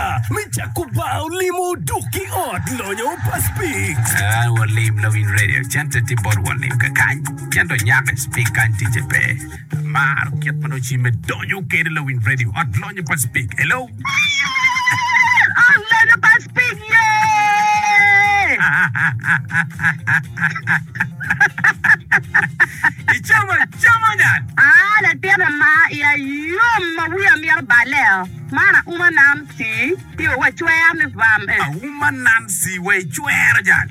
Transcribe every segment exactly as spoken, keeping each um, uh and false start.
atura me cako bar olimo duk ki ot lonyo pa Speke. Ah, walim lawiny radio cente tye bot walim kakany ento nyako Speke kany ticce pe. Amaro kit ma nongo cimme donyo kede lawiny radio ot lonyo pa Speke. Hello. Ot lonyo pa Speke ye! Icamo acama nyal. Ah, latin ama iya yom ma wiya mito balle-o. Man auma Nancy tye wa cwer ni bam eh. Auma Nancy wa icwero jal.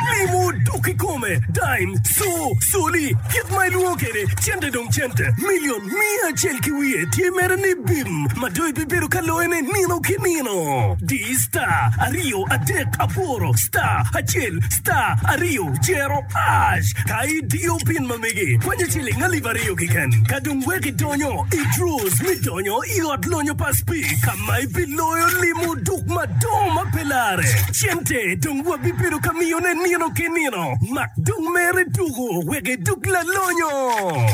Limo dok kikome, dime, co, coli, kit ma ilwongo kwede, cente dong cente, milion miya acel ki wiye tye mere ni bim ma dong ibibedo ka loyone nino ki nino. Di star aryo adek aboro star acel star aryo jero hash ka idiyo pin ma megi kwanyo ciling alip aryo keken ka dong wek idonyo i draws me donyo i ot lonyo pa Speke ka ma ibiloyo limo duk madongo ma pe lare. Cente dong wabibedo ka miyone nino ki nino. Mak dong mere tuko wek iduk lalonyo.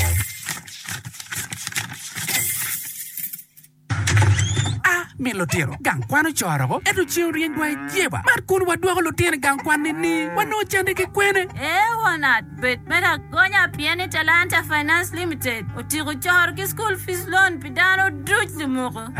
A Min lutino, gang kwan ocoro ko, ento ceng oryeny wa i jeba. Man kun wadwoko lutino i gang kwan ni-ni, wanongo cente ki kwene? Ee won at, bed me agonya pien ni Talanta Finance Limited otiko coro ki school fees loan pi dano duc lumuku.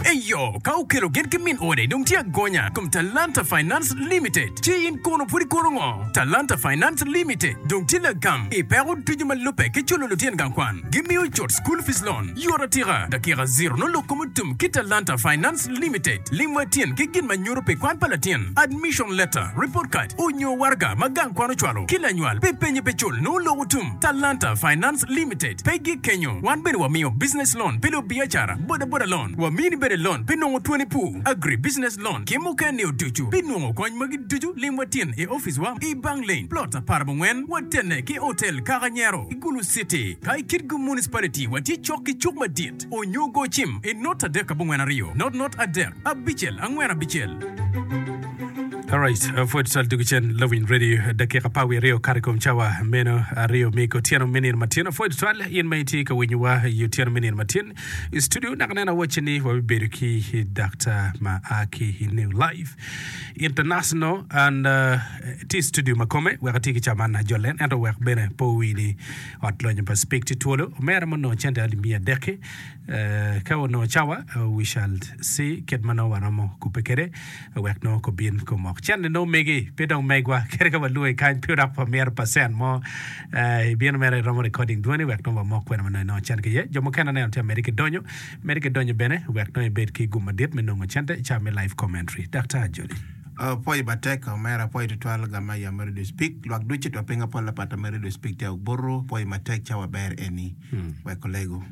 Eyo, ka okelo gin ki min ode dong tye agonya kom Talanta Finance Limited. Ci in kono pud ikono ngo? Talanta Finance Limited dong tye lagam i peko ducu ma lubbe ki culo lutino gang kwan. Gimiyo cut school fees loan yot atika, dakika zero nongo lok kom otum ki Talanta Finance Limited. Lim wa tyen ki gin ma nyuto pi kwan pa latin, admission letter, report card, onyo waraga ma gang kwan ocwalo ki lanywal pi penye pe cul nongo lok otum. Talanta Finance Limited pe gik kenyo. Wan bene wamiyo business loan pi lubiacara, boda boda loan, wamini bene loan pi nongo twoni pur, agri business loan ki mukene ducu. Pi nongo kony magi ducu lim wa tyen i opic wa i Bank Lane, plot apar abongwen, watene ki Hotel Kakanyero i Gulu City. Ka i Kitgum Municipality watye cok ki cuk madit onyo go cim i not adek abongwen aryo not not adek abicel angwen abicel. Alright, pwod twal dugu cen Lawiny Radio dakika apar wiye aryo kato i kom cawa meno aryo me otyeno me nino matyen. Pwod twal in ma itye ka winyowa i otyeno me nino matyen i studio naka neno awacci ni wabibedo ki daktar ma a ki i New Life International and uh, tye i studio ma kome wek ati ki ca man ajolen ento wek bene pe owi ni ot lonyo pa Speke tye twolo omera ma onongo cente alip miya adek-ki eh, ka onongo cawa uh, we shall see kit ma nongo waromo kubbe kwede wek nongo kobin komok cente nongo megi pe dong megwa kadi ka walwongi kany pe dok wamito percent mo eh, ibino mere iromo recording dwoni wek nongo wamok kwene ma nongo inongo cente ki iye jo mukene aneno tye amedde ki donyo medde ki donyo bene wek nongo ibed ki gum madit me nongo cente i cawa me live commentary Daktar Joli. Uh, pwoyo matek omera pwoyo tutwal gama ya me radio speak lwak ducu twa pinga pol apata me radio speak te obutu pwoyo matek cawa ber eni wek olego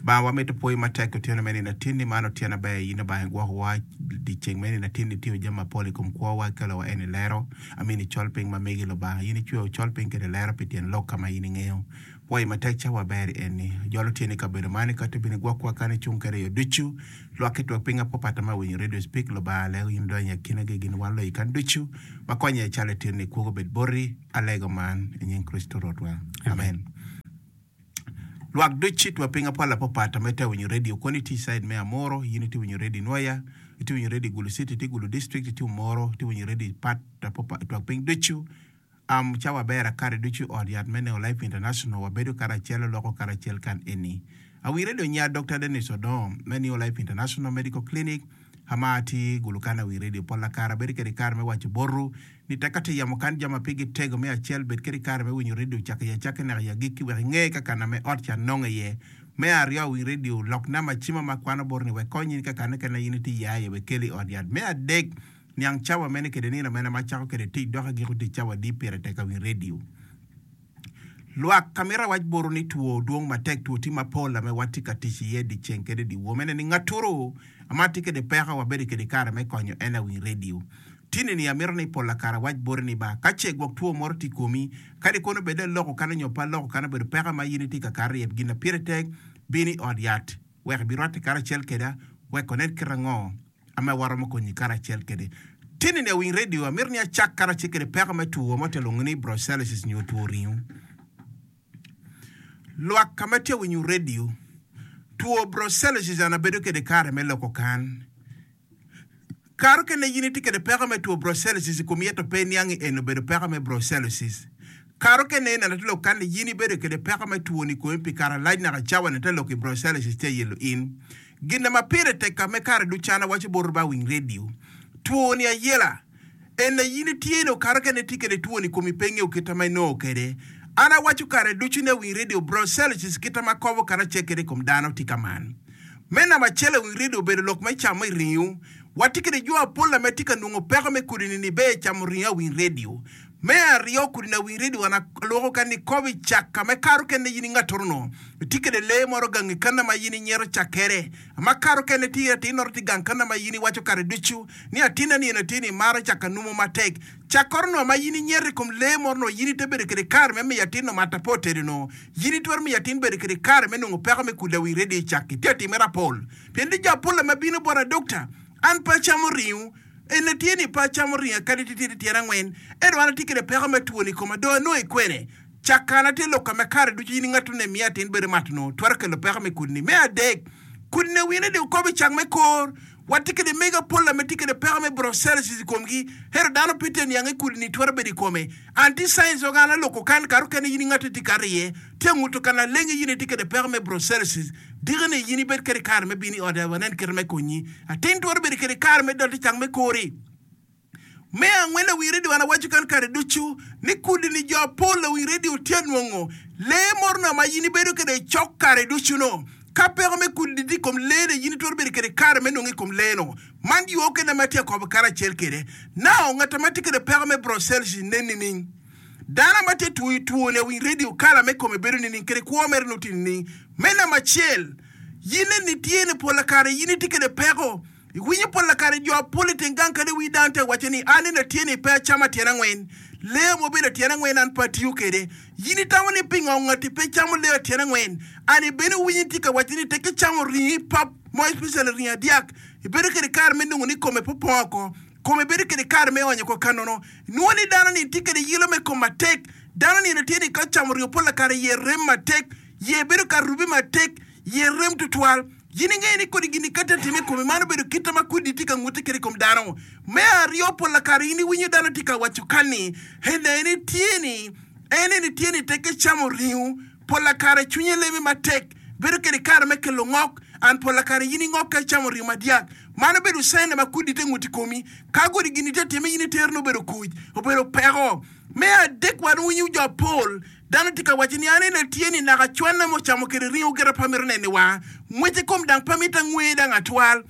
ba wamito pwoyo matek otyeno me nino atinni man otyeno aber in Obanga igwokowa dyeceng me nino atinni itiyo jami mapol i kom kwowa ikelo wa en i lero amin i col piny ma megi Lubanga in icweyo col piny kede lero pi tyen lok ka ma in ingeyo pwoyo matek cawa ber eni jolo tyeni i kabedo man ikati bino igwokwa kan icung kede yo ducu lwak ki twak piny apopata ma winyo radio speak Lubanga alego in idonyo i akinagi gin wan loyi kan ducu ma konye calo itinni kwogo bed boti alego man i nying Kricito Rwotwa amen. Lwak ducu twa piny apol apopata ma itye winyo radio koni itye i side me Amuru in itye winyo radio i Nwoya itye winyo radio i Gulu City itye i Gulu District itye Omoro itye winyo radio i pat twak piny ducu um, cawa ber akare ducu ot yat me Neo Life International wabedo karacel oloko karacel kan eni awi radio nya Dr. Dennis Odongo me Neo Life International Medical Clinic ama atye Gulu kan awi radio pol akare abedo kede kare me waco botu ni tek ka tye yamo kan jami ma pigi tego me acel bed kede kare me winyo radio cako i acakki naka i agikki wek inge ka kana me ot ca nongo iye me aryo awiny radio lok namba cima ma kwano botu ni wek kony in ka kane kene in itye iye aye wek keli i ot yat me adek niang cawa mene kede nino mene ma cako kede tic dok agiko tic cawa adi pire tek awiny radio lwak ka mito awac botu ni two dwong matek two tye mapol ame watye ka tic iye dyeceng kede dyewor mene ni ngaturu ama tye kede peko wabedo kede kare me konyo en awiny radio tini ni amito ni pol akare awac boti ni ba ka ce gwok two moro tye i komi kadi kono bed aloko kan onyo pe aloko kan obedo peko ma in itye ka kato iye gin na pire tek bin i ot yat wek ibirwatte karacel keda wek onen kit ango ame waromo konyi karacel kede tini ni awiny radio amito ni acak karacel kede peko me two ma ote lwongo ni brucellosis nyo two ringo lwak ka ma tye winyo radio Two brucellosis an abedo kede kare me loko kan. Kare okene in itye kede peko me two brucellosis i komi ento pe iniang ni en obedo peko me brucellosis. Kare okene en atye lok kan ni in ibedo kede peko me two-ni i komi pi kare alac naka cawa ni te lok i brucellosis tye yelo in. Gin ma pire tek ka me kare ducu an awaco bot ba winy radio. Two-ni ayela. En na in itye ni kare okene itye kede two-ni i komi pe ingeyo kite ma inongo kede. An awaco kare ducu ni awiny radio brucellosis kite ma kobo karacel kede i kom dano tye ka man. Me namba acel awiny radio obedo lok me camo i ringo. Watye kede jo apol ame tye ka nongo peko me kudi-ni ni be camo ringo awiny radio. Me aryo kudi-ni awiny radio an alwoko ka ni kobo i cak ka me kare okene in ingatoro no. Itye kede lee moro gang i kana ma in inyero cakere. Ma kare okene tye atin noro tye gang kana ma in iwaco kare ducu ni atinna ni en atin ni maro cak anumo matek. Cakoro no ma in inyero i kom lee moro no in ite bedo kede kare me miyo atin no mata po tedo no. In itwero miyo atin bedo kede kare me nongo peko me kudi awiny radio i cak-ki. Tye atimere apol. Pien tye jo apol ma bino bota dokta, an pe acamo ringo. En tye ni pe acamo ringo kadi titidi tyen angwen. Ento an atye kede peko me two-ni i koma dong anongo i kwene. Cak kana tye lok ka me kare ducu in ingato ne miyo atin bedo mato no twero kelo peko me kudi-ni. Me adek, kudi-ni awiny radio kobo i cak me kor. Watye kede mego apol ame tye kede peko me brucellosis i komgi. Ento dano pe tye niang ni kudi-ni twero bedo i kome. Anti science oga an aloko kan kare okene in ingato itye kato iye. Tye anguto ka lalenge in itye kede peko me brucellosis. Diki ni in ibed kede kare me bino i ot wanen kite me konyi. Atin twero bedo kede kare me dot i cak me kori. Me angwen lawiny redio an awaco kan kare ducu ni kudi ni jo apol lawiny redio tye anwongo lee moro na ma in ibedo kede cok kare ducu no. Ka peko me kudi tye i kom lee ni in itwero bedo kede kare me nongo i kom lee no. Man yo okene ma atye akobo karacel kede. Now ngat ma tye kede peko me brucellosis nen nining? Dano ma tye two two ni awiny redio kala me kome bedo nining kede kwo mere nongo tye nining? Me namba acel, in eni tye ni pola kare in itye kede peko. Iwinyo pola kare jo apol i teng gang kadi wi dano te waco ni an eni atye ni pe acamo tyen angwen. Lee ma obedo tyen angwen an pe atiyo kede. In itamo ni pingo ngati pe camo lee tyen angwen? An ibene winyi tye ka waco ni tek icamo ringi pap mo especially ringi adyak ibedo kede kare me nongo ni kome pe opong oko. Kome bedo kede kare me onyo oko kanono. Inwongo ni dano ni tye kede yilo me kom matek. Dano ni eni tye ni ka ocamo ringo pola kare iye rem matek. Iye bedo ka rube matek. Iye rem tutwal. In ingeyo ni kodi gin-ni ka tye atime i komi, man obedo kite ma kwidi tye ka ngute kwede i kom dano. Me aryo, pol kare in iwinyo dano tye ka waco kan ni, Ena eni tye ni, en eni tye ni tekke camo ringo. Pol kare cwinye leme matek, bedo kwede kare me kelo ngok, and pol kare in ingok ka icamo ringo madyak. Man obedo caina ma kwidi tye ngut i komi. Ka kodi gin-ni tye atime, in itero ni obedo kuc, obedo peko. Me adek, wan winyo jo apol dano tye ka waco ni an eni atye ni naka cwanna ma ocamo kwede ringo gire pe amito neno i wanga. Ngwec i kom dang pe mito angwe dang atwal.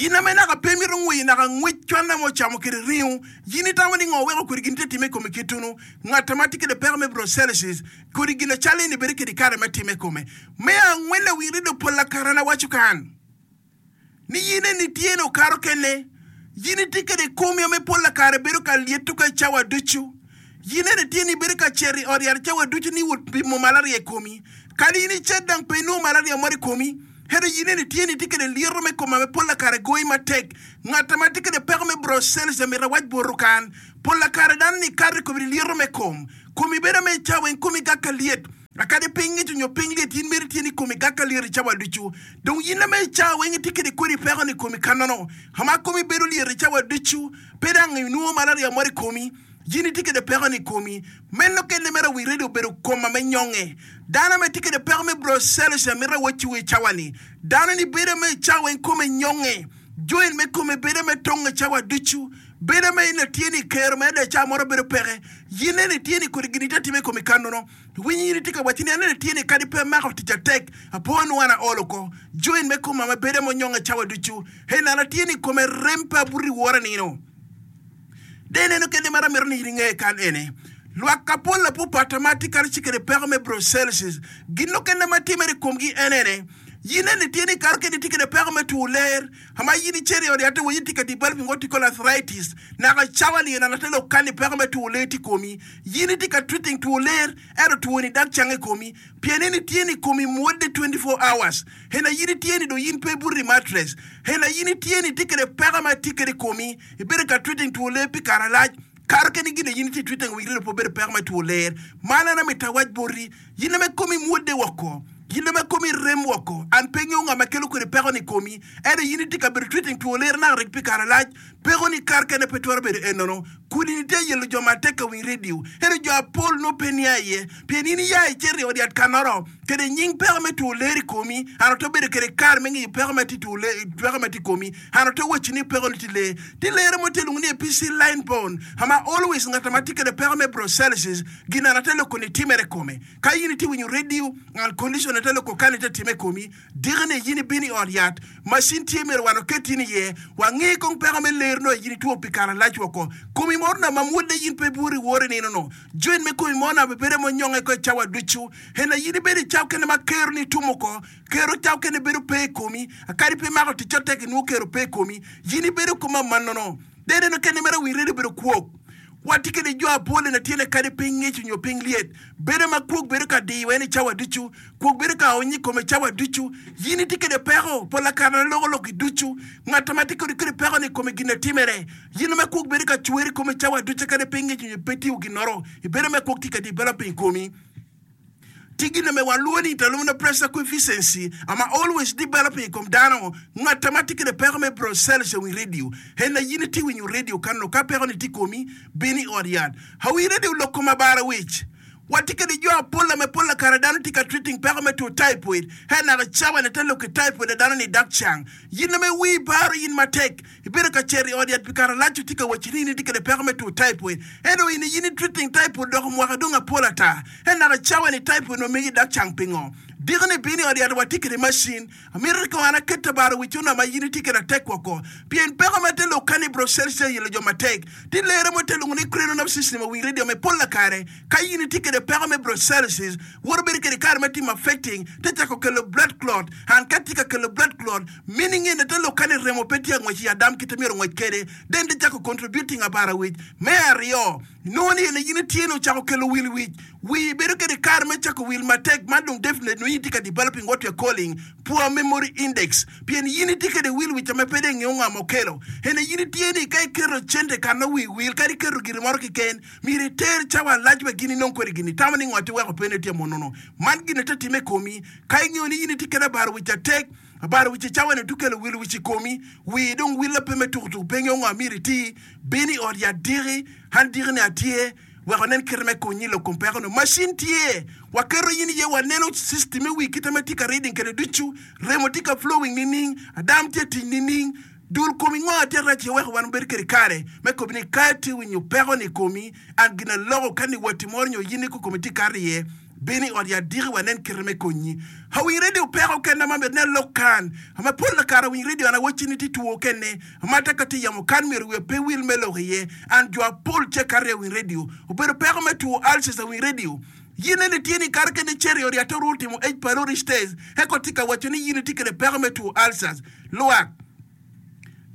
In ame naka pe imito ngweyo naka ngwec cwanna ma ocamo kwede ringo. In itamo ni ngo weko kodi gin tye time i komi kitunu? Ngat ma tye kwede peko me brucellosis kodi gin acal eni bedo kwede kare me time i kome. Me angwen lawil redio pol lakara na waco kan. Ni in eni tye ni okato kene. In itye kede komi ame pol kare bedo ka lyeto ka cawa ducu. In eni tye ni ibedo ka cito i ot yat cawa ducu ni wot pimo malaria i komi. Kadi in icit dang pe inongo malaria moro i komi. Ento in eni tye ni itye kede lyeto me kom ame pol kare goyi matek. Ngat ma tye kede peko me brucellosis amito awac boti kan. Pol kare dano ni ikato i komi lyeto me kom. Komi bedo ame cawa weng komi gak ka lyet. Kadi piny ngic onyo piny lyet, in myero itye ni komi gak ka lyet i cawa ducu. Dong in ame i cawa weng itye kede kodi peko ni komi kanono, ama komi bedo lyet i cawa ducu, pe dang inwongo malaria moro i komi, in itye kede peko ni komi. Meno kene mere wi redio obedo kom ame nyonge. Dano ame tye kede peko me brucellosis amito awacciwu i cawa ni, dano ni bedo ame i cawa weng kome nyonge, joint me kome bedo ame tonge cawa ducu, bedo ame in atye ni kero me ada cawa moro bedo peke, in eni itye ni kodi gin itye atime i komi kanono. Iwinyo in itye ka waco ni, 'Aneno tye ni kadi pe amako tic atek, apo nongo an aol oko. Join me koma ma bedo ma onyonge cawa ducu. Hey, nano atye ni kome rem pe abuto i wora nino. De ineno kene mar amito ni in inge kan ene. Lwak apol apupata ma atye kare ci kede peko me brucellosis. Gin okene ma timere i komgi en ene. In eni tye ni kare kene itye kede peko me two ler. Ama in icito i ot yat iwinyo itye ka developing what you call arthritis. Naka cawa ni ena ate lok kani peko me two ler tye i komi. In itye ka treating two ler ento two ni dag cang i komi. Pien in itye ni komi mwodde twenty four hours. Ena in itye ni dong in pe ibuto i mattress. Ena in itye ni itye kede peko ma tye kede i komi. Ibedo ka treating two ler pi kare alac. Kare kene gin in itye treating wek rino pe obedo peko me two ler. Man an amito awac boti. In ame komi mwodde woko. Yin ma komi rem woko an pe ngeyo nga ma kelo kwede peko ni komi ento yin itye ka bedo treating two ler naka rik pi kare lac peko ni kar kene pe twero bedo enono kudi ni tye yelo jo matek ka winy radio ento jo apol no pe nia iye pien in iya icito i od yat kanoro kede nying peko me two ler i komi an ote bedo kede kare me ngeyo peko ma tye two ler peko ma tye i komi an ote waci ni peko ni tye ler tye lere mo tye luongo ni A P C line bone ama always ngat ma tye kede peko me brucellosis gin an ate loko ni timere kome ka in itye winyo radio an condition ate loko kani te time komi dikine yin ibino i ot yat macin tye myero wan oket in iye wangi kong peko me ler no yin itwo pi kare lac woko komi moro na ma mwodde yin pe bwori wori nino no joint me komi moro na bedo monyonge ko i cawa ducu ena yin ibedo i cawa kene ma kero ni tumo ko kero cawa kene bedo pe i komi akadi pe mako tic otek inwo kero pe i komi yin ibedo koma manono dede no kene mere wi redio bedo kwok watye kede jo apol na tyene kadi piny ngec nyo piny lyet bedo ma kwok bedo ka diyo en i cawa ducu kwok bedo ka onyo i kome cawa ducu yin itye kede peko pol akare na loko lok i ducu ngat ma tye kede kede peko ni i kome gin na timere yin ma kwok bedo ka cwer i kome cawa ducu kadi piny ngec nyo pe tiyo ginoro ibedo ma kwok tye ka developing i komi ti gin me waluwo ni interluminal pressure coefficiency ama always developing i kom dano ngat ma tye kede peko me brucellosis wi radio en yin itye winyo radio kano ka peko ni tye komi bino i ot yat awi radio lok kom abara wic watye kede jo apol me pol kare dano tye ka treating peko me two typhoid he naka cawa ne te lok i typhoid dano ni dak cang yin me wi baro yin matek ibedo ka cero i ot yat pi kare lac tye ka waci ni in itye kede peko me two typhoid ento in yin i treating typhoid doko mwaka dong apol ata he naka cawa ni typhoid no megi dak cang pingo dikni bino i ot yat watye kede macin amito ko an aket abaro wic ona ma yin itye kede atek woko pien peko ma te lok kani brucellosis yelo jo matek ti lere mo te luongo ni cranial nerve system wi radio me pol kare ka yin itye kede peko me brucellosis woto bedo kede kare ma timo affecting te chako kelo blood clot an ka tye ka kelo blood clot meaning ene te lok kani remo pe tye angwec i adam kite myero ngwec kede then te chako contributing abara wic me aryo nongo ni ene yin itye ni ochako kelo wil wic wi bedo kede kare me chako wil matek man dong definitely no yin itye ka developing what we are calling poor memory index pien yin itye kede wil wic ame pe dong ingeo nga mokelo ene yin itye ni ka iketo cente kana wi wil kadi iketo giri moro keken myero iter cawa lac wek gin inong kwede gini tamo ni ngo ti weko pene tye monono man gine te time komi ka ingeo ni yin itye kede abaro wic atek abaro wic cawa ni tukelo wil wic i komi wi dong willa pe me tukutuku pe ngeo ngo myero iti bino i ot yat diki an diki ni atye wek onen kite me konyi lok kom peko no macin tye waketo yin iye waneno system me wi kite ma tye ka reading kede ducu remo tye ka flowing nining adam tye tic nining dul komi ngo tye rac iye weko wan obedo kede kare me kobi ni ka itye winyo peko ni komi an gina loko ka ni wati moro nyo yin ni kokomi tye kato iye bino i ot yat diki wanen kite me konyi awiny radio peko kene ma myero ne lok kan ama pol kare awiny radio an awacci ni tye two kene ama ta ka tye yamo kan myero wiya pe wil me lok iye an jo apol ce kato i awiny radio obedo peko me two ulcers awiny radio yin ene tye ni kare kene cero i ot yat orwo timo H pylori test eko tye ka waco ni yin itye kede peko me two ulcers lwak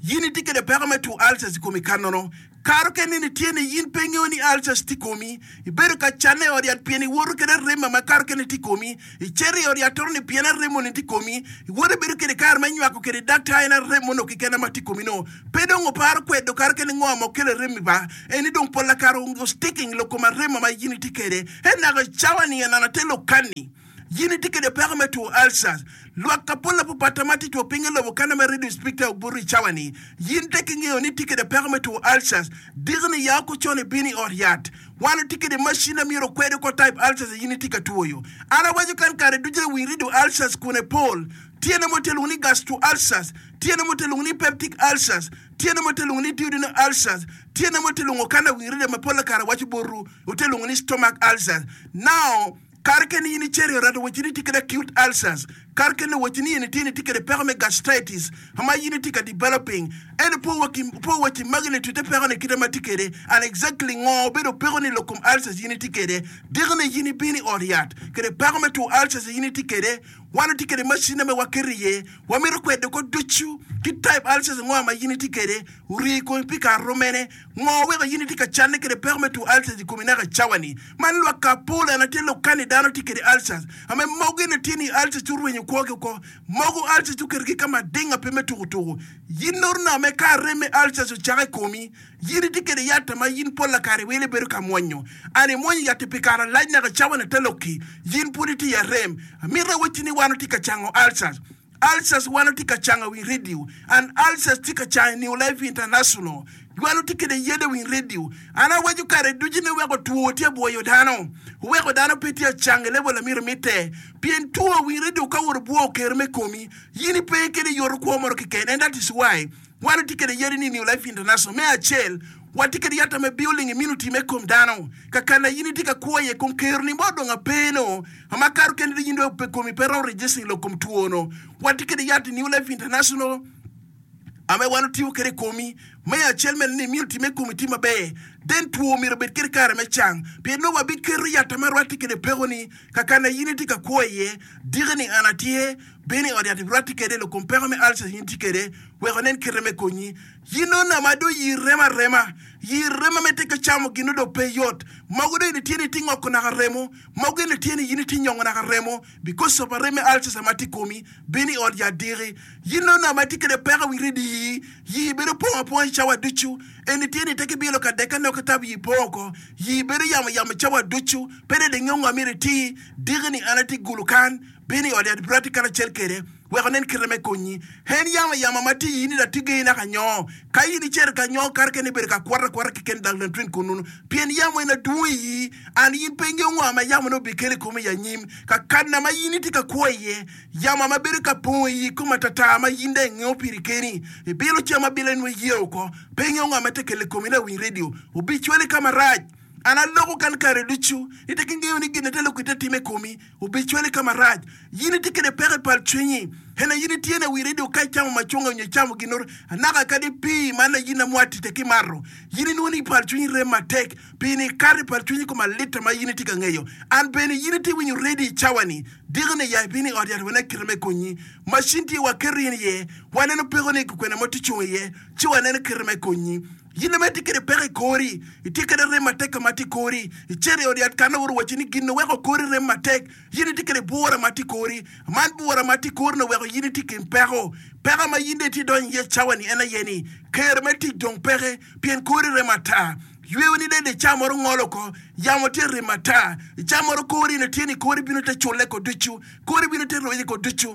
yin itye kede peko me two ulcers i komi kanono karo kene ni tye ni yin pe ingeo ni ulcers tye komi ibedo ka canne i ot yat pien iwoto kede arema ma karo kene tye komi icito i ot yat toro ni pien aremo ni tye komi iwoto ibedo kede kare me nywako kede daktar en aremo no keken ma tye komi no pe dong oparo kwedo karo kene ngo ma okelo aremi ba eni dong pol kare o sticking lok kom aremo ma yin itye kede en naka cawa ni en ate lok kani yin itye kede peko me two ulcers lwak ka pol apapata ma tye two piny i lobo kana ma radio speaker obuto i cawa ni yin te ki ngeo ni tye kede peko me two ulcers dikni ya oko con ibino i ot yat wan otye kede macin a myero okwedo ko type ulcers yin itye ka twoyo an awaco kan kare ducu wi radio ulcers kune pol tyene mo te luongo ni gastro ulcers tyene mo te luongo ni peptic ulcers tyene mo te luongo ni duodenal ulcers tyene mo te luongo kana wi radio ma pol kare waco boru ote luongo ni stomach ulcers now kar kene yin icero i ot weche ni tye kede acute ulcers kar kene weche ni yin tye ni tye kede peko me gastritis ama yin itye ka developing ento po waki po weche magi ni tute peko ni kite ma tye kede and exactly ngo obedo peko ni lok kom ulcers yin itye kede dikni yin ibino i ot yat kede peko me two ulcers yin itye kede wan otye kede macin me waketo iye wamito kwedo ko ducu ki type ulcers ngo ma yin itye kede ori komi pi kare romene ngo weko yin itye ka canne kede peko me two ulcers i komi naka cawa ni man lwak ka pol en atye lok kani dano tye kede ulcers ame mogo ene tye ni ulcers orwenyo orwenyo kwogi oko. Mogo ulcers oketogi ka mading pe me tuko tuko. Yin noro me ka arem me ulcers ocako i komi, yin itye kede yat ma yin pol kare iwilo ibedo ka mwonyo. An imwonyo yat pi kare alac naka cawa na te lokki, yin pud itye i arem. Amito awacci ni wan watye ka cango ulcers. Ulcers wan watye ka cango i radio, and ulcers tye ka cango i New Life International. Wan watye kede yede i radio. An awaco kare ducu ni weko two tye bwoyo dano. Weko dano pe tye cango i level amito mitte. Pien two i radio ka woro bwo ker me komi, yin pe kede yoto kwo moro keken. And that is why wan watye kede yede ni New Life International. Me acel, watye kede yat me building immunity me kom dano. Kakana yin itye ka kwo iye kom ker ni mo dong apeno. Ama karo kende yin do pe komi pe ro registering lo kom two no. Watye kede yat New Life International. Ame wan otiyo kede komi. Me acel mene ni immunity me komi tye maber. Then two myero obed kede kare me cang. Pien nongo wabiketo yat ma rwatte kede peko ni kakana yin itye ka kwo iye, diki ni an atye, bino i ot yat rwatte kede lo kom peko me ulcers yin tye kede, wek onen kite me konyi. Yin nongo ma do yir remo arema, yir remo me tye ka camo gin do pe yot. Mogo do eni tye ni tye ngoko naka remo, mogo eni tye ni yin tye nyongo naka remo, because of arem me ulcers ma tye i komi, bino i ot yat diki. Yin nongo ma tye kede peko wi redi yi, yi bedo pong aponga i cawa ducu. Eni tye ni teki bilo ka deka nok tab yi pong oko, yi bedo yamo yamo i cawa ducu, pe de ngeyo ngo myero iti, diki ni an atye gulu kan, bino i ot yat brati kan acel kede, wek onen kite me konyi. En yamo yamo ma tye yin da tye naka nyo. Ka yin icito ka nyo kare kene ibedo ka kwata kwata keken dang lan twin kununu. Pien yamo en adwong iyi, an yin pe ingeyo ngo ma yamo no obikelo i komi i anyim. Ka kana ma yin itye ka kwo iye, yamo ma bedo ka pongo iyi kom atata ma yin dong ingeyo piri keni. Ibilo cam abila inwe iye oko, pe ingeyo ngo ma tye kelo i komi la winy radio. Obicwali ka marac. An aloko kan kare ducu, ite ki ngeyo ni gin ate loko ite time komi, obicwali ka marac. Yin itye kede peko i pal cwinyi. Ena yin itye na wi radio ka icamo macunga onyo icamo ginoro, anaka kadi pii man na yin amwati te ki mato. Yin inwongo ni pal cwinyi rem matek, pii ni ikato i pal cwinyi kom alita ma yin itye ka ngeyo. An bene yin itye winyo radio i cawa ni, diki ni ya ibino i ot yat wene kite me konyi. Macin tye waketo in iye, waneno peko ni kwena mo tye cung iye, ci waneno kite me konyi. Yin ame itye kede peko i kori, itye kede rem matek ma tye i kori, icito i ot yat kan oworo wacci ni gin oweko kori rem matek, yin itye kede bwura ma tye i kori, man bwura ma tye i kori ni oweko yin itye kin peko. Peko ma yin dong itye donyo iye cawa ni en aye ni, ker me tic dong peke, pien kori rem ata. Yweyo ni dede ca moro ngolo oko, yamo tye rem ata. Ca moro kori ni tye ni kori bino te culle ko ducu, kori bino te roye ko ducu.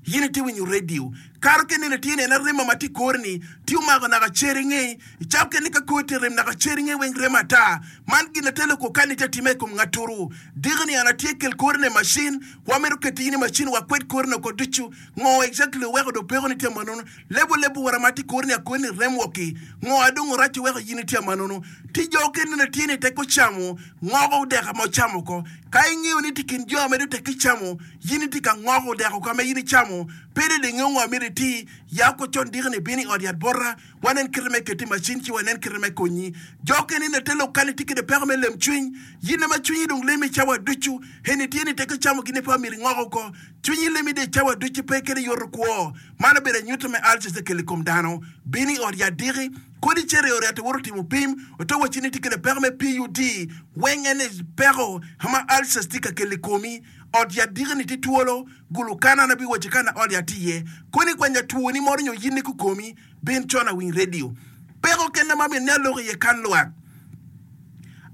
Yin itye winyo radio. Karo kene ni tye ni en arema ma tye i kori ni, tye omako naka cer inge. Icab kene ka kori tye rem naka cer inge weng rem ata. Man gin atelo ko kan ite time i kom ngaturu. Diki ni an atye kel kori ne macin, wamito keto yin i macin wakwed kori ne oko ducu. Ngo exactly oweko do peko ni tye manono. Lebo lebo wara ma tye kori ni akori ni rem woki. Ngo adong orac oweko yin itye manono. Ti jo kene ni tye ni teko camo, ngoko odeka ma ocamo ko. Ka ingeyo ni tye kin jo amedo tek icamo, yin itye ka ngoko odeko ka ma yin icamo, pe de ingeyo ngo myero iti, ya ko con diki ni bino i ot yat bota, wanen kite me keti macin ci wanen kite me konyi. Jo kene ni te lok kan itye kede peko me lem cwiny, yin ma cwinyi dong lemi cawa ducu, eni tye ni teko camo gini pa myero ingoko ko. Cwinyi lemi de cawa ducu pe kede yoto kwo. Man obedo anyuta me ulcers kelo i kom dano. Bino i ot yat diki, kodi cito i ot yat iwoto timo pim, oto wacci ni tye kede peko me P U D, weng en peko ma ulcers tye ka kelo i komi. Ot yat diki ni tye twolo, gulu kana na biwaco kana ot yat tye iye. Koni kwanya two ni moro nyo yin ni kukomi, bin con awiny radio. Peko kene ma myero ni aloko iye kan lwak.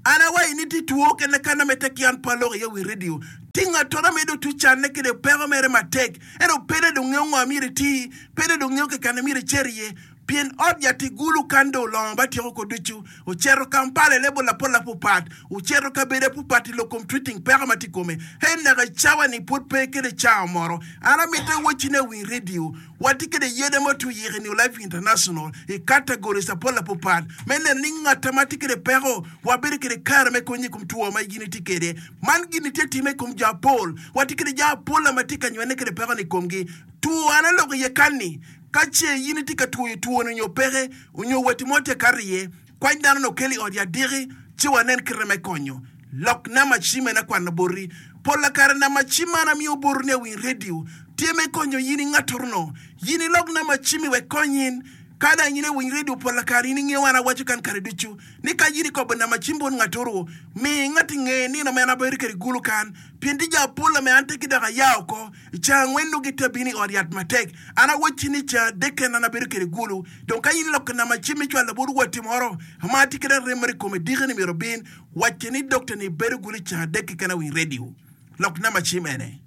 An awayi ni tye two kene kana me tek yan pa aloko iye wi radio. Tinga tora medo tu canne kede peko mere matek. Ento pede dong ngeyo ngo myero iti, pede dong ngeyo kekane myero icer iye. Pien ot yat igulu kan do olongo ba tyeko ko ducu. Ocito Kampala i level apol apupat. Ocito kabedo apupat i lok kom treating peko ma tye i kome. He naka cawa ni pud pe kede cawa moro. An amito iwacci ni awiny radio. Watye kede yede ma otwe yiko i New Life International i categories apol apupat. Me neno ni ngata ma tye kede peko, wabedo kede kare me konyi i kom two ma gin itye kede. Man gin itye time i kom jo apol. Watye kede jo apol ma tye ka nywene kede peko ni i komgi. Two an aloko iye kan ni, ka ce yin itye ka twoyo two ni onyo peke, onyo wati mo tye kato iye, kwany dano no kelo i ot yat diki, ci wanen kite me konyo. Lok nama cim en akwano boti. Pol kare nama cim an amiyo boti ni awiny radio, tye me konyo yin i ngatoro no. Yin ilok nama cim i wek kony in. Ka dong in iwiny redio pol kare in ingeyo an awaco kan kare ducu ni ka in ikobo namba cim bot ngatoro, mi ngat inge nino ma en abedo kwede gulu kan, pien tye jo apol ame an teki dok aya oko i ceng angwen nongo gitye abino i ot yat matek. An awacci ni ceng adek kene an abedo kwede gulu. Dong ka in iloko namba cim icwalo bot watti moro ma atye kwede arem moro i kome diki ni myero obin, wacce ni dokta ni bedo gulu i ceng adek keken awiny redio. Lok namba cim ene.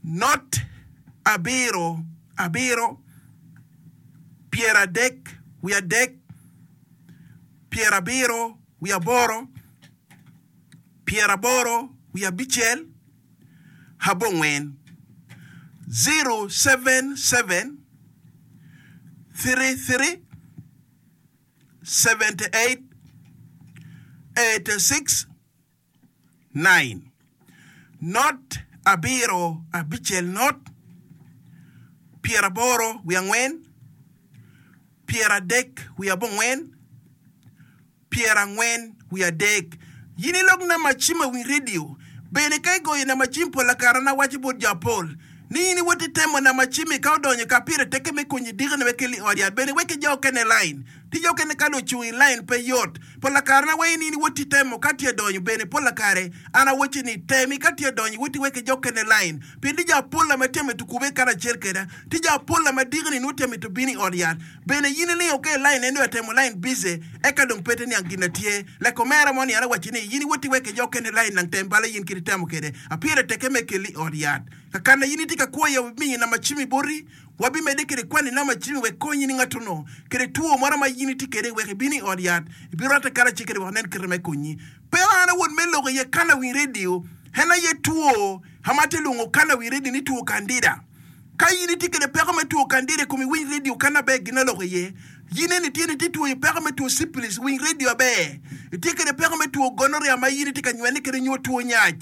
Not abiro abiro pyeradek wiye adek pyerabiro wiye aboro pyeraboro wiye abicel abongwen zero seven seven three three seventy eight eighty six nine Not abiro abicel not pyeraboro wiye angwen pyeradek wiye abongwen pyerangwen wiye adek. Yin ilok namba cim awiny redio bene ka igoyo namba cim pol akara na awaco bot jo apol ni in iwot itemo namba cimmi ka odonyo ka pire tekke me konyi dikone me keli i ot yat bene wek ijo okene line Tic okene ka dong ocung i lain pe yot. Pol kare na wayi ni in iwoti temo ka tye donyo bene pol kare an awacci ni temi ka tye donyo iwoti wek ijok kene lain pien tye jo apol ma tye mito kube karacel keda tye jo apol ma diki ni nwo tye mito bino i ot yat bene in ilingo ka i lain en dong atemo lain bize eka dong pe te niang gin na tye like omera mo ni an awacci ni in iwoti wek ijok kene lain nang tem bala in kit itemo kede apire teke me keli i ot yat kakana in itye ka kwo iye wabimiyo namba cimmi boti. Wabimedde kwede kwani namba cimmi wek konyi ni ngat-nu kede two moro ma in itye kwede wek ibin i ot yat, ibirwatte karacel kwede wek onen kite me konyi. Pe an awot me lok iye kana wi redio, en aye two ma atye lwongo kana wi redio ni two kandida. Ka in itye kwede peko me two kandida i komi winy redio kana aber gin aloko iye. In eni tye ni itye twoyo peko me two syphilis, winy redio aber. Itye kwede peko me two gonorrhea ma in itye ka nywene kwede nyo two nyac.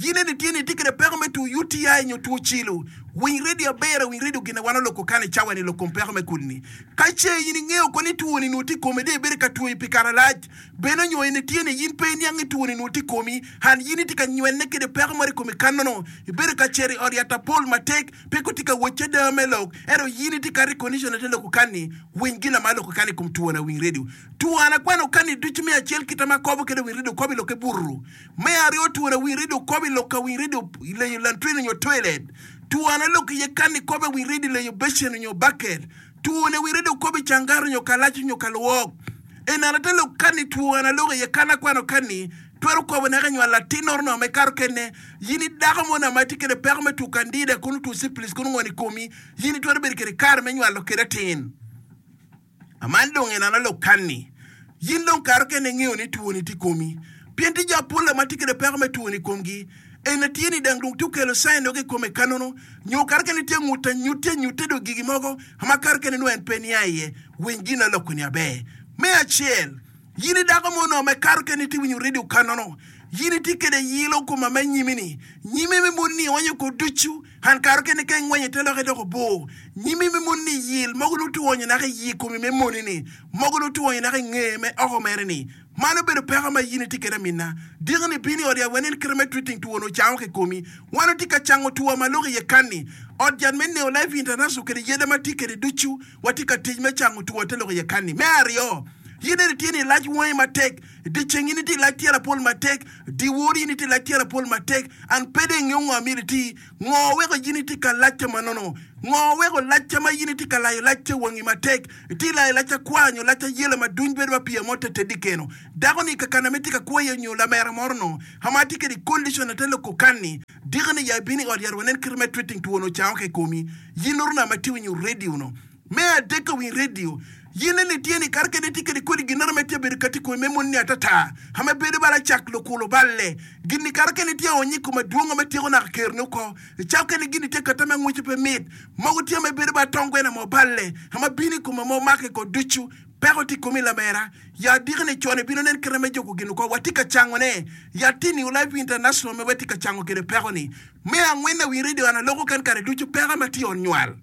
In eni tye ni itye kwede peko me two U T I nyo two cilo. Winy redio aber, winy redio gin wan oloko kan i cawa ni lok kom peko me kudi-ni. Ka ce in ingeyo ko ni two-ni nwo tye i komi dong ibedo ka twoyo pi kare lac, bene nyo eni tye ni in pe iniang ni two-ni nwo tye i komi, and in itye ka nywene kede peko moro i komi kanono, ibedo ka cito i ot yat apol matek, pe ko tye ka wocci ada me lok, ento in itye ka recondition ate loko kan-ni, winy gin ma aloko kan i kom two-na, winy redio. Two an akwano kan-ni ducu me acel kita ma akobo kede winy redio kobo i lokke bururu. Me aryo twon awiny redio kobo i lok awiny redio i leyo lantrin onyo toilet. Twon alok iye kan i kobo awiny redio i leyo becen onyo baket. Twon awiny redio kobo i cangara onyo kalac onyo kalwok. En ate lok kan i twon alok iye kan akwano kan ni twero kobo naka inywalo latin oro me kato kene. Yin i dako mo na ma itye kede peko me two kandida kono two syphilis kono ngoni i komi yin itwero bedo kede kare me nywalo kede atin. Man dong en analog kan-ni. In dong kare kene ingeyo ni twoni tye i komi. Pien tye jo apol ma tye kwede peko me twoni i komgi. En tye ni dang dong tye okelo cain dog i kome kanono, nyo kare kene tye ngut anyutte anyutte dong gigi mogo ma kare kene nongo en pe nia iye. Winy gin aloko-ni aber. Me acel, in i dako mo onongo me kare kene itye winyo redio kanono. In itye kwede yilo koma me nyimi-ni. Nyimi me mon-ni onyo ko ducu. An kare kene ka ingwenyo te lokke dok obor, nyimi me moni ni yil, mogo nongo twonyo naka i yi komi me moni ni, mogo nongo twonyo naka i ngeye me oko mere ni. Man obedo peko ma in itye kwede aminna. Diki ni bino i ot yat wanen kite me treating two onongo cango ki komi. Wan watye ka cango two ma loko iye kanni. Ot yat me Neo Life International kede yada ma tye kwede ducu watye ka tic me cango two te loko iye kanni. Me aryo, in eni tye ni ilac wangi matek, dyeceng in itye ilac tyelo apol matek, dyewor in itye ilac tyelo apol matek, An pe dong ingeyo ngo amyero iti. Ngo weko in itye ka lacca ma nono? Ngo weko lacca ma in itye ka layo lacca wangi matek? Itye layo lacca kwar nyo lacca yelo ma duny bedo ma pii mo te tedi keno? Dako ni kakana ma itye ka kwo iye nyo lamera moro no ma atye kede condition ate loko kanni diki ni ya ibino i ot yat wanen kite me treating two no cango ki komi. Yin oro na ma tye winyo radio no. Me adek ka winy redio, yin eni tye ni kare kede itye kede kodi ginoro me tye bedo kati komi me moni ni atata, ame bedo bala cak lukulo balle. Gin ni kare kene tye aonyi kome dwongo me tyeko naka kerni oko. Icak kene gin tye kata me ngwece pe mit. Mogo tye me bedo ba tongwena mo balle, ame bino i kome mo make ko ducu. Peko tye komi lamera. Ya diki ni con ibino nen kite me juko gin oko. Watye ka cango ne. Ya tye New Life International me watye ka cango kede peko ni. Me angwen awiny redio an aloko ken kare ducu peko ma tye onywal.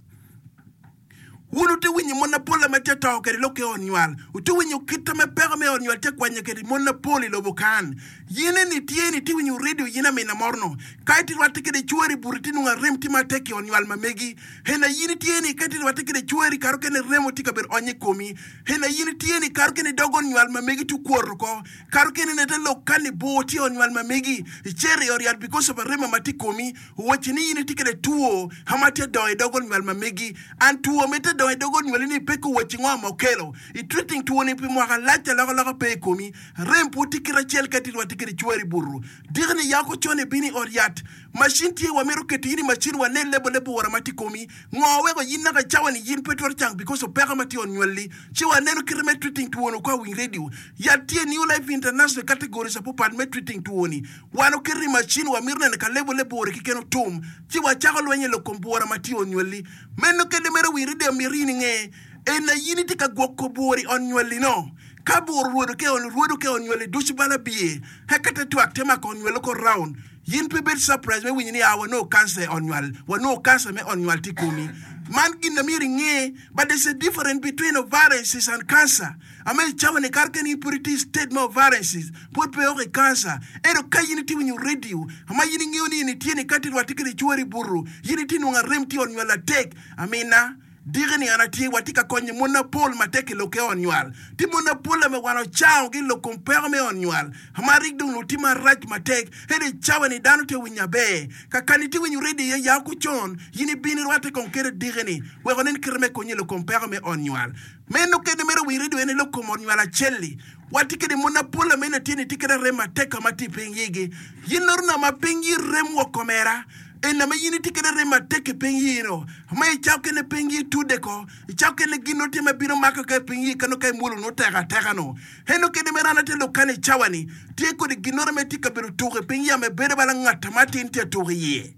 Wun wutye winyo mon mapol ame tye to kede lok ki ot nywal. Wutye winyo kit ame peko me ot nywal tye kwanyo kede mon mapol i lobo kan. Yin eni tye ni itye winyo redio yin amina moro-nu. Ka itye rwatte kede cwari i buto itye nongo arem tye matek i ot nywal ma megi. Hena yin itye ni ka itye rwatte kede cwari kare okene remo tye ka bedo onyo i komi. Hena yin itye ni kare okene dog ot nywal ma megi tye okwoto oko. Kare okene nete lok kan ni bor tye i ot nywal ma megi. Icito i ot yat because of arem ma tye i komi. Owacci ni in itye kede two ma tye dongo i dog ot nywal ma megi. An two ma itye dongo i dog ot nywali ni pe kowacci ngo ma okelo. I treating two ni pi mwaka lac alokaloka pe i komi. Rem pud tye kite acel ka itye rwatte kede cwari butu. Diki ni yako con ibino i ot yat. Macin tye wamito keto in i macin wanen lebo leb bura ma tye i komi. Ngo weko in naka cawa ni yin pe twero cang because of peko ma tye i ot nywali. Ci waneno kite me treating two ni kwa winy radio. Yat tye New Life International categories apapat me treating two ni. Wan oketo i macin wamito neno ka lebo lebore keken otum, ci wacako lweny i lok kom bwura ma tye i ot nywalli. Meno kede mere wi ride mito in inge en na in itye ka gwoko bwura i ot nywalli no. Ka bwura orwodo ke orwodo ke ot nywalli ducu bala biye, eka te twak te mako ot nywalli oko round. Yin pe ibed surprise me winyo ni aa wanongo cancer i ot nywal, wanongo cancer me ot nywal tye i komi. Man gin na myero inge, but there's a difference between ovarian cyst and cancer. Ame i cawa ni kare kene in pud itye i state me ovarian cyst, pud pe oko i cancer. Ento ka in itye winyo radio, ma in ingeyo ni in itye ni ka tye rwatte kede cwari i buto, in itye nongo arem tye i ot nywal atek. Amina. Diki ni an atye, watye ka konyo mon mapol matek i lok ki ot nywal. Tye mon mapol ame wan ocango ki i lok kom peko me ot nywal. Ma rik dong nongo tye marac matek. Ento i cawa ni dano tye winyo aber. Kakani itye winyo redio iye ya oko con, in ibino irwatte kong kede diki ni wek onen kite me konyi i lok kom peko me ot nywal. Meno kede mere winyo redio en i lok kom ot nywal acel-li. Watye kede mon mapol ame in atye ni tye kede arem matek ka ma tye i piny yigi. Yin loro na ma piny yi rem woko omera. En ame in itye kede rem matek i piny yino, ma i cawa kene piny yi tudde ko, i cawa kene gin nongo tye ma bino mako ka i piny yi kano ka imwolo nongo tek ateka no. Eno kede mere an atye lok kany i cawa ni, tye kodi ginnoro me tye kabedo tuko i piny yi ame bedo bala ngat ma atin tye atuko iye.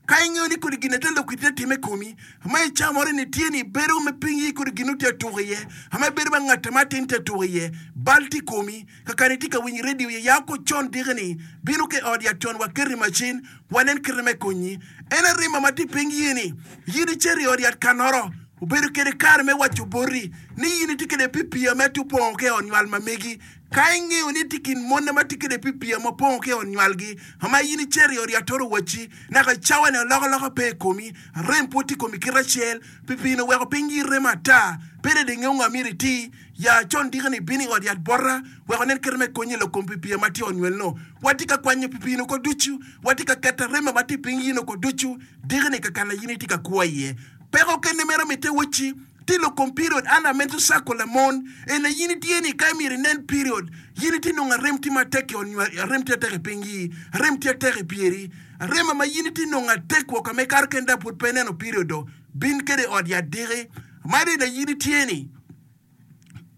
Ka ingeyo ni kodi gin ate lok itye time i komi, ma i cawa moro ni tye ni bedo me piny yi kodi gin nongo tye atuko iye, ame bedo bala ngat ma atin tye atuko iye, bal tye i komi. Kakare itye ka winyo redio iye ya oko con diki ni, bino ki i ot yat con wa keto i macin, wanen kite me konyi. En arima ma tye piny ye ni, yin icito i ot yat kanoro, obedo kede kare me waco boti ni yin itye kede pipia me tye opongo ki i ot nywal ma megi. Ka ingeyo ni itye kin monne ma tye kede pipia ma opongo ki i ot nywalgi, ma yin icito i ot yat toro wacci, naka cawa ni alokaloka pe i komi, arem pwod tye i komi kite acel, pipini oweko piny yi remo ata, pe dong ingeyo ngo myero iti. Ya con diki-ni ibino i ot yat bota wek onen kite me konyi i lok kom pipia ma tye i ot nywel-nu. Watye ka kwanyo pipini oko ducu, watye ka keto arema ma tye i piny yin oko ducu diki-ni kakana in itye ka kwo iye. Peko kene mere mitte wacci, tye i lok kom period under menstrual cycle lamon ene in itye ni ka myero inen period yin itye nongo arem tye matek i ot nywel arem tye atek i piny yi arem tye atek i pyeri arema ma yin itye nongo atek woko me kato kene dok pud pe ineno period do bin kede i ot yat diki ma dong in itye ni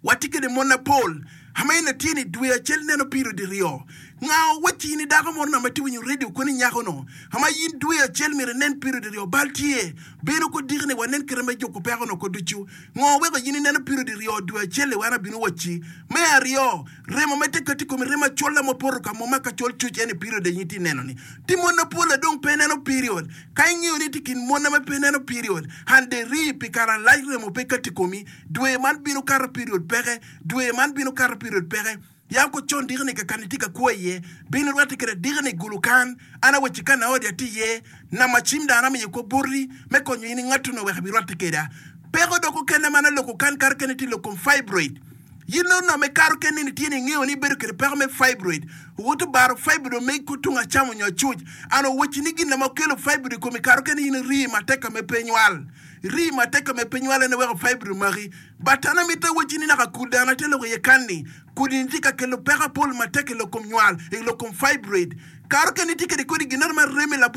Watye kede mon mapol ama en atye ni dwe acel neno piro diryo. Nga owacci in i dako moro nama itye winyo radio koni nyako no ama in dwe acel myero inen piro diryo bal tye bino ko diki ni wanen kite me juko peko no ko ducu. Ngo weko in ineno piro diryo dwe acel li wan abino wacci. Me aryo, remo me te kati komi remo acola ma opoto ka mo ma ka col cuc en i period aye itye neno ni. Tye mon mapol adong pe neno period. Ka ingeyo ni itye kin mon ma pe neno period and de rii pi kare alac remo pe kati komi Dwe man bino kato period peke, dwe man bino kato period peke. Ya ko con diki-ni kakani itye ka kwo iye, bin irwatte kwede diki-ni i gulu kan. An awacci ka naodi atye iye, nama cim dano amiyo kwo boti me konyo in ingatto-nu wek ibirwatte kweda. Peko dok okene man aloko kan kato kene tye lok kom fibroid. Yin nongo name kato kene ni tye ni ingeyo ni ibedo kwede peko me fibroid. Owoto baro fibroid omegi ko tung acam onyo acuc. An owacci ni gin ma okelo fibroid i komi kato kene in iri matek ka me pe nywal. Rii matek ka me pe nywale ne weko fibroid omaki. But an amito awacci ni naka kudi an atye lok iye kan ni, kudi ni tye ka kelo peko apol matek i lok kom nywal, i lok kom fibroid. Kato kene itye kede kodi ginoro ma remi labongo.